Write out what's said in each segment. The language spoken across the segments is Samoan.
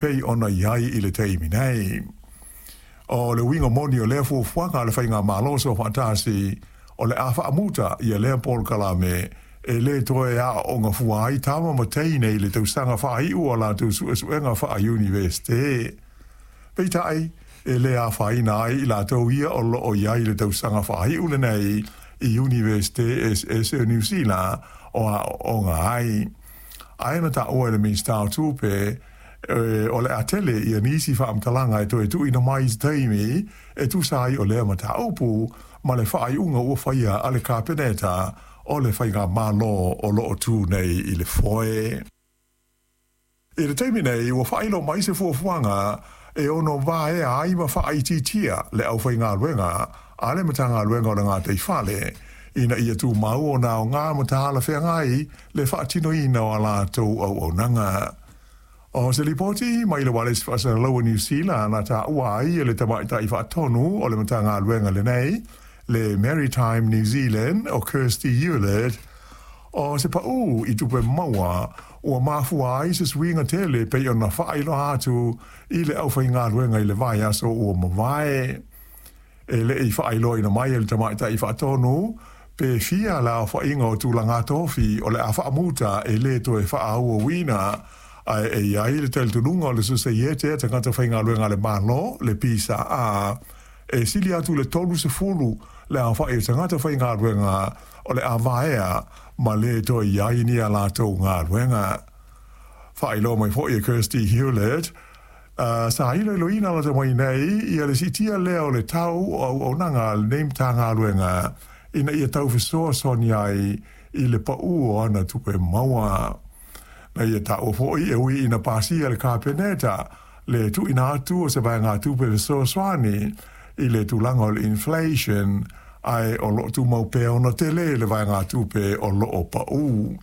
Pei ona i ai i le taimi nei. O le uiga moni o lea fuafuaga a le Faigamalo Soofaatasi, o le a faamuta ia lea polokalame e lē toe aooga fua ai tama ma teine i le tausaga faaiu o a latou suesuega faa-Iunivesite. Peitai, e lē afaina ai i latou ia o loo i ai i le tausaga faaiu lenei i Iunivesite eseese o Niu Sila o aooga ai. Ae na taua e le Minisita o Tupe, o le a tele ia nisi faamatalaga e toe tuuina mai i se taimi e tusa ai o lea mataupu ma le faaiuga ua faia a le Kapeneta o le Faigamalo o lo o tu nei i le foe. I le taimi nei, ua faailoa mai se fuafuaga e ono vaea ai ma faaitiitia le aufaigaluega a le Matagaluega o le Gataifale ina ia tumau ona aoga ma talafeagai le faatinoina o a latou auaunaga. O se lipoti mai le Ualesi Faasalalau a Niu Sila na taua ai e le tamaitai faatonu o le Matagaluega lenei, le Maritime New Zealand o Kirsty Hewlett, o se paū i tupe maua ua mafua ai se suiga tele pei ona faailoa atu i le aufaigaluega i le vaiaso ua mavae. E le i faailoaina mai e le tamaitai faatonu pe fia le aofaiga o tulaga tofi o le a faamuta e lē toe faaauauina, ae e i ai le talitonuga o le Sosaiete a Tagata Faigaluega a le Malo, le PSA, e sili atu i le 30 le aofai o tagata faigaluega o le a vaea ma lē toe i ai ni a latou galuega. Faailoa mai foi e Kirsty Hewlett, sa iloiloina lata mai nei ia le siitia lea o le tau o auaunaga a lenei Matagaluega ina ia tau fesoasoani ai i le paū o ana tupe maua. Na ia taua foi e ui ina pasia e le Kapeneta le tuuina atu o se vaegatupe fesoasoani i le tulaga o le inflation, ae o lo o tumau pea ona tele le vaegatupe o lo o paū.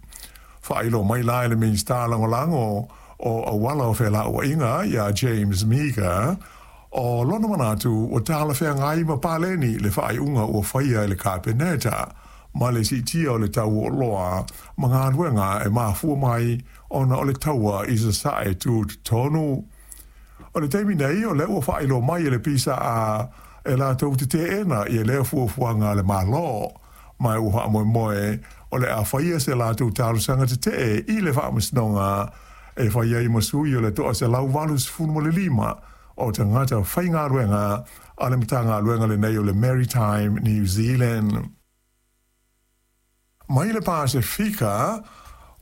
Faailoa mai la e le Minisita Lagolago o Auala o Felauaiga ia James Meaker, o lona manatu ua talafeagai ma paleni le faaiuga ua faia e le Kapeneta ma le siitia o le tau o oloa ma galuega e mafua mai ona o le taua i Sasae tutotonu. O le taimi nei, o lea ua faailoa mai e le PSA e latou te teena ia lea fuafuaga a le Malo, ma ua faamoemoe o le a faia se latou talosaga tetee i le Faamasinoga e fai ai ma sui o le 185 o tagata faigaluega a le Matagaluega lenei o le Maritime New Zealand. Mai le Pasefika,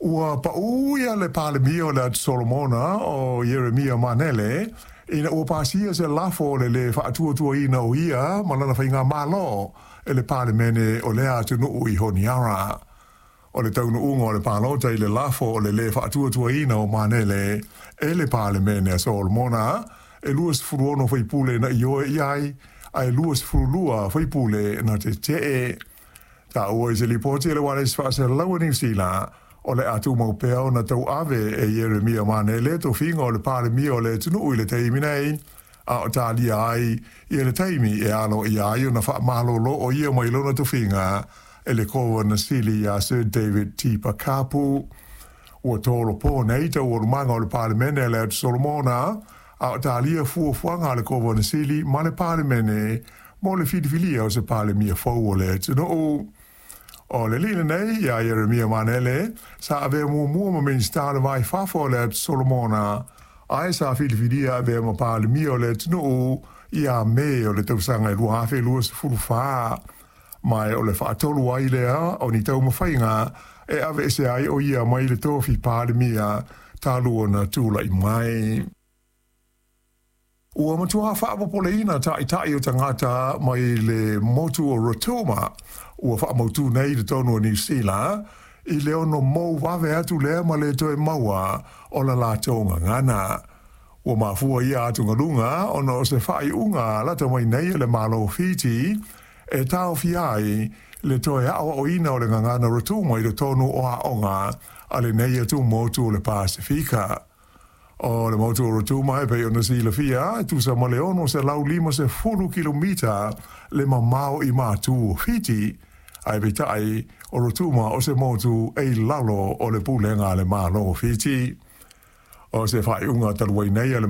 ua paū ia le Palemia o le Atu Solomona o Ieremia Manele ina ua pasia se lafo o le lē faatuatuaina o ia ma lana faigamalo e le Palemene o lea atunuu i Honiara. O le taunuuga o le palota i le lafo o le lē faatuatuaina o Manele e le Palemene a Solomona, e 26 faipule na ioe i ai, ae 22 faipule na tetee. Taua i se lipoti a le Ualesi Faasalalau a Niu Sila, o le a tumau pea ona tauave e Ieremia Manele tofiga o le Palemia o le atunuu i le taimi nei, a o talia ai ia le taimi e aloaia ai ona faamalolo o ia mai lona tofiga e le Kovana Sili ia Sir David Tipa Kapu. Ua tolopo nei taualumaga o le Palemene a le Atu Solomona, a o talia fuafuaga a le Kovana Sili ma le Palemene mo le filifilia o se Palemia fou o le atunuu. O le alii lenei ia Ieremia Manele, sa avea muamua ma Minisita o le Va i Fafo o le Atu Solomona, ae sa filifilia e avea ma Palemia o le atunuu ia Me o le tausaga e 2024. Ma o le faatolu ai lea o ni taumafaiga e aveese ai o ia mai le tofi Palemia talu ona tulai mai. Ua matua faapopoleina taitai o tagata mai le motu o Rotuma ua faamautū nei i totonu o Niu Sila i le ono mou vave atu lea ma le toe maua o la latou gagana. Ua mafua ia atugaluga ona o se faaiuga lata mai nei e le Malo o Fiti e taofia ai le toe aoaoina o le gagana Rotuma i totonu o aoga a lenei atumotu o le Pasefika. O le motu o Rotuma e pei ona silafia e tusa ma le 650 kilomita le mamao i matu o Fiti, ae peitai o Rotuma o se motu e i lalo o le pulega a le Malo o Fiti. O se faaiuga talu ai nei a le